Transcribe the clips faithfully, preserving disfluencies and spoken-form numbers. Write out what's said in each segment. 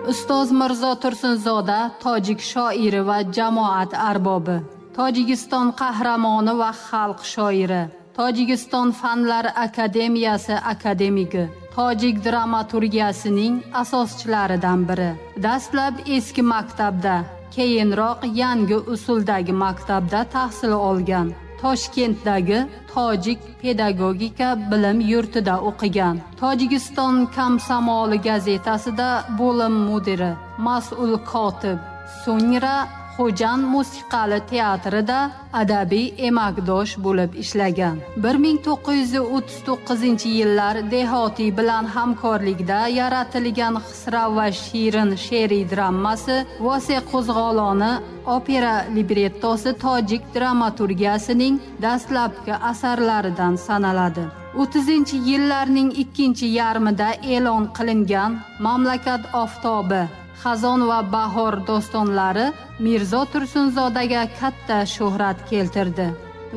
Ustoz Mirzo Tursunzoda tojik shoiri va jamoat arbobi, Tojikiston qahramoni va xalq shoiri, Tojikiston Fanlar Akademiyasi akademigi, tojik dramaturgiyasining asoschilaridan biri. Dastlab eski maktabda, keyinroq yangi usuldagi maktabda tahsil olgan. Toshkentdagi Tojik pedagogika bilim yurtida o'qigan. Tojikiston Komsomoli gazetasida bo'lim mudiri, mas'ul kotib, so'ngra Xo'jand musiqali teatrida adabiy emakdosh bo'lib ishlagan. bir ming to'qqiz yuz o'ttiz to'qqizinchi yillar Dehotiy bilan hamkorlikda yaratilgan Xisrav va Shirin she'riy dramasi, Vose qo'zg'oloni opera librettosi tojik dramaturgiyasining dastlabki asarlaridan sanaladi. o'ttizinchi yillarning ikkinchi yarmida e'lon qilingan Mamlakat oftobi, Xazon va Bahor dostonlari Mirzo Tursunzodaga katta shuhrat keltirdi.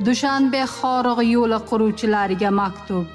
Dushanbe Xorig'i yo'li quruvchilariga maktub,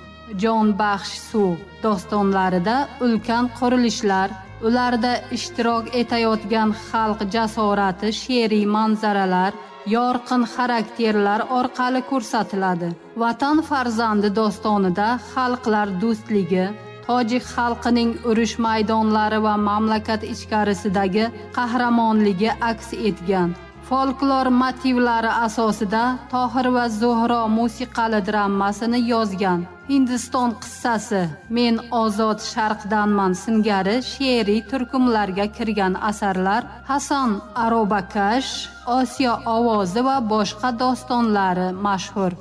Jonbaxsh suv dostonlarida ulkan qurilishlar, ularda ishtirok etayotgan xalq jasorati she'riy manzaralar, yorqin xarakterlar orqali ko'rsatiladi. Vatan farzandi dostonida xalqlar do'stligi, tojik xalqining urush maydonlari va mamlakat ichkarisidagi qahramonligi aks etgan. Folklor motivlari asosida Tohir va Zuhro musiqali dramasini yozgan. Hindiston qissasi, Men ozod sharqdanman singari she'riy turkumlarga kirgan asarlar, Hasan Arobakash, Osiyo ovozi va boshqa dostonlari mashhur.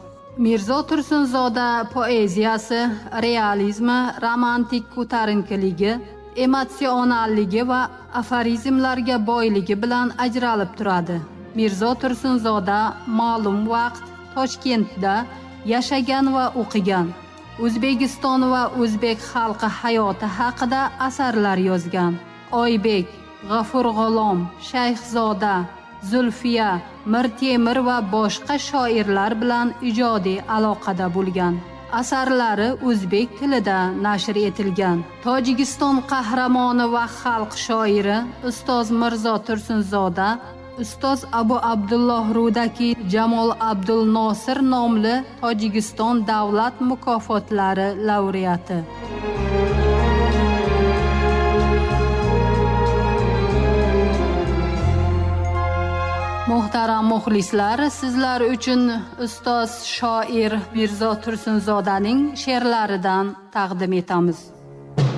Mirzo Tursunzoda poeziyasi realizmi, romantik ko'tarinkiligi, emotsionalligi va aforizmlarga boyligi bilan ajralib turadi. Mirzo Tursunzoda ma'lum vaqt Toshkentda yashagan va o'qigan. O'zbekiston va o'zbek xalqi hayoti haqida asarlar yozgan. Oybek, G'afur G'ulom, Shayxzoda, Zulfiya, Mir Temir va boshqa shoirlar bilan ijodiy aloqada bo'lgan. Asarlari o'zbek tilida nashr etilgan. Tojikiston qahramoni va xalq shoiri Ustoz Mirzo Tursunzoda Ustoz Abu Abdulloh Rudaki Jamol Abdul Nosir nomli Tojikiston davlat mukofotlari laureati. Muhtaram muxlislar, sizlar uchun ustoz shoir Mirzo Tursunzodaning she'rlaridan taqdim etamiz.